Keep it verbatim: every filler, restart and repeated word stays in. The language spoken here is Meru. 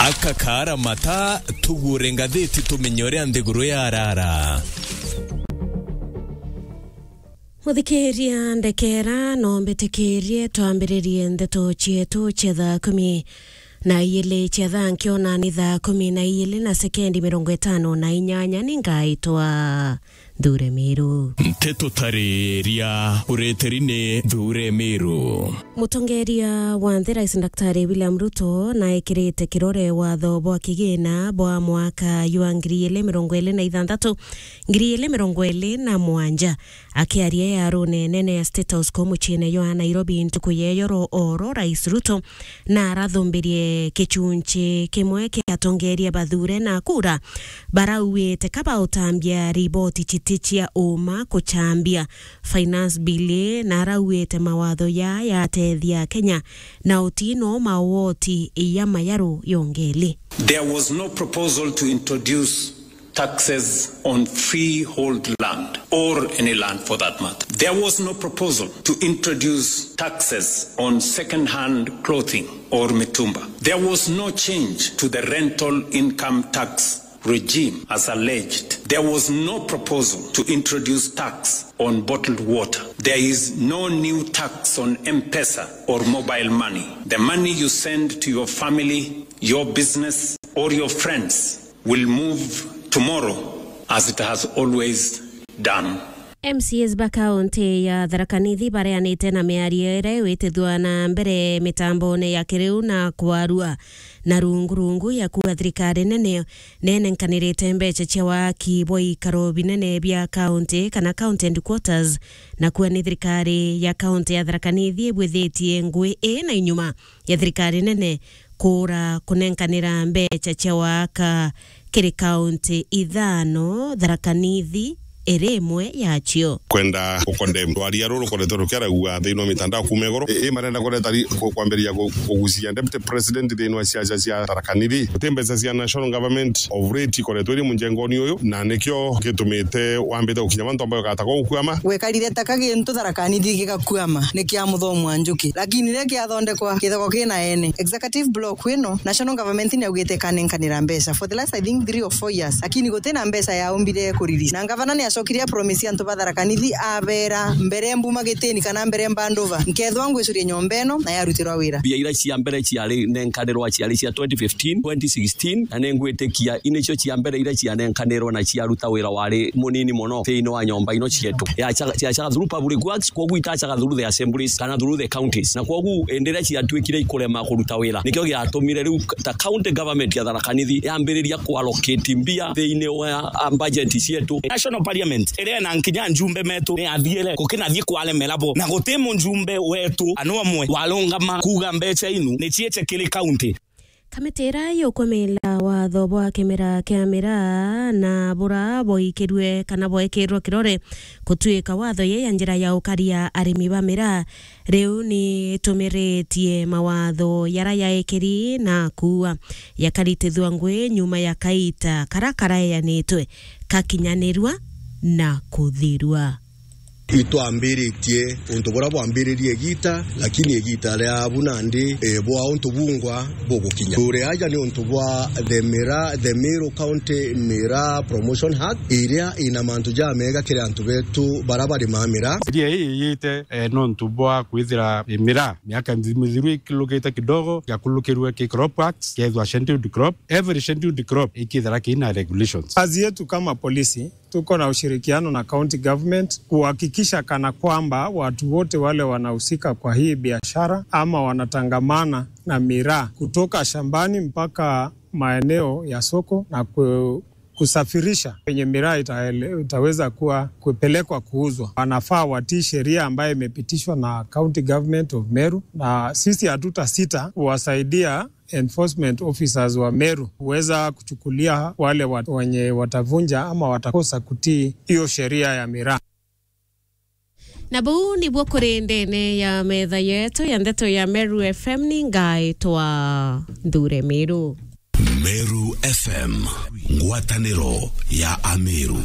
Akakara mata, tugure ngathiti tumenye uria nthiguru yarara. Muthikiria ndekera, no mbitikirie twambiririe ndeto cietu cia thaa kumi na iili cia thaa nkio, na ni thaa kumi na iili na sekendi mirongo itano na inyanya. Ni ngaitwa Nthure Miru. Nteto tariria ureteri ni Nthure Miru. Mutongeria wa nthi, Rais Daktari William Ruto, naekirite kirore watho bwa kigina bwa mwaka jwa ngiri iili mirongo iili na ithanthatu, ngiri iili mirongo iili na mugwanja. Akiaria yarune nene ya State House kuu muciine jwa Nairobi ntuku ya iyoro oro, Rais Ruto narathumbirie gicunci kimwe kia atongeria bathure na kura barauite ka bautambia riboti citi cia uma kucambia Finance Bill, na arauite mawatho ya yatethia Kenya na utino mawoti ya mayaru yongeli. There was no proposal to introduce taxes on freehold land or any land for that matter. There was no proposal to introduce taxes on second-hand clothing or mitumba. There was no change to the rental income tax regime as alleged. There was no proposal to introduce tax on bottled water. There is no new tax on M-Pesa or mobile money. The money you send to your family, your business, or your friends will move tomorrow as it has always done. M C As ba kaunti ya Tharaka Nithi bareanite na miario iria iwitithua na mbere mitambone ya kiriu na kwarua na rungu rungu ya kuuga thirikari nene nenenkanirite mbeca cia waki bwa ikaro binene bia kaunti kana county headquarters, na kuuga ni thirikari ya kaunti ya Tharaka Nithi ibwithitie ngui ii na inyuma ya thirikari nene kuura kunenkanira mbeca cia waka kiri kaunti ithano, Tharaka Nithi iri imwe yacio. Kwenda gukondemn rwaria ruru rukoretwe rukiaragua thiini wa mitandao kuuma iguru. I, i marenda kureta ri-, ku-, kwambiriria ku-, kugucia Deputy President thiini wa ciaca cia Tharaka Nithi. Guti mbeca cia National Government of late ikoretwe iri munjengoni uyu, na nikio gitumite wambite gukinya mantu ambayo gatagwa gukuama. Gwekarire ta ka gintu Tharaka Nithi gigakuama, ni kia muthomo wa njuki. Lakini riria kiathondekwa, kithoko kina ene. Executive block ino, National Government niaugite ikanenkanira mbeca for the last, I think, three or four years. Lakini gutina mbeca yaumbire kurelease. Na ngavana niacokire a promise antu ba Tharaka Nithi, abera, mbere mbuma gitini kana mbere mbandova, nkethwa ngwicuria nyomba ino na yarutirwa wira. Mbia iria cia mbere ciari nenkanirwa ciari cia twenty fifteen, twenty sixteen, na ningwitikia inicio cia mbere iria cianenkanirwe na ciaruta wira wari munini mono thiini wa nyomba ino cietu. Yacaga, ciacaga through public works, kwoguo itacaga through the assemblies kana through the counties. Na kwoguo indi iria ciatuikire ikurema kuruta wira, nikio giatumire riu ta county government ya Tharaka Nithi yambiriria kuallocate mbia thiini wa, ah, budget cietu. National Parliament iria ina nkinya njumbe metu ni athiire, gukinathie kwaremera bo, na guti mujumbe wetu ana umwe warungama kuuga mbeca inu ni ciite kiri county. Kamiti iria yukumila watho bwa kimera kia miraa na buria bwaikirue kana bwekirwe kirore gutuika watho ye ya njira ya ukaria arimi ba miraa, riu ni itumiritie mawatho yara yaekeri na kuua yakaritithua ngui nyuma ya kaita kara karaeanitwe kakinyanirua na kuthirua. Itwambiritie untu buria bwambiririe igita, lakini igita ria bu nandi, eh, bwa untu bungwa bugukinya. Turi aja ni untu bwa the Miraa, the Meru County Miraa Promotion Act, iria ina mantu jamega kiri antu betu baria barimaa miraa. Sheria ii iyite, eh, nontu bwa kwithira, eh, miraa miaka mithiru ikilukite kidogo, yakulukirwe ki Crop Act, kethwa scheduled crop. Every scheduled crop ikithira kina regulations. Kazi yetu kama polisi, tuko na ushirikiano na county government kuhakikisha kana kwamba watu wote wale wanahusika kwa hii biashara ama wanatangamana na miraa kutoka shambani mpaka maeneo ya soko na ku-, kusafirisha kwenye miraa itaele-, itaweza kuwa kupelekwa kuuzwa, wanafaa watii sheria ambayo imepitishwa na County Government of Meru, na sisi hatutasita kuwasaidia enforcement officers wa Meru kuweza kuchukulia wale wa-, wenye watavunja ama watakosa kutii hiyo sheria ya miraa. Na buu nibuo kuri ndene ya metha yetu ya ndeto ya Meru F M, ni ngaitwa Nthure Miru. Meru F M, ngwataniro ya Ameru.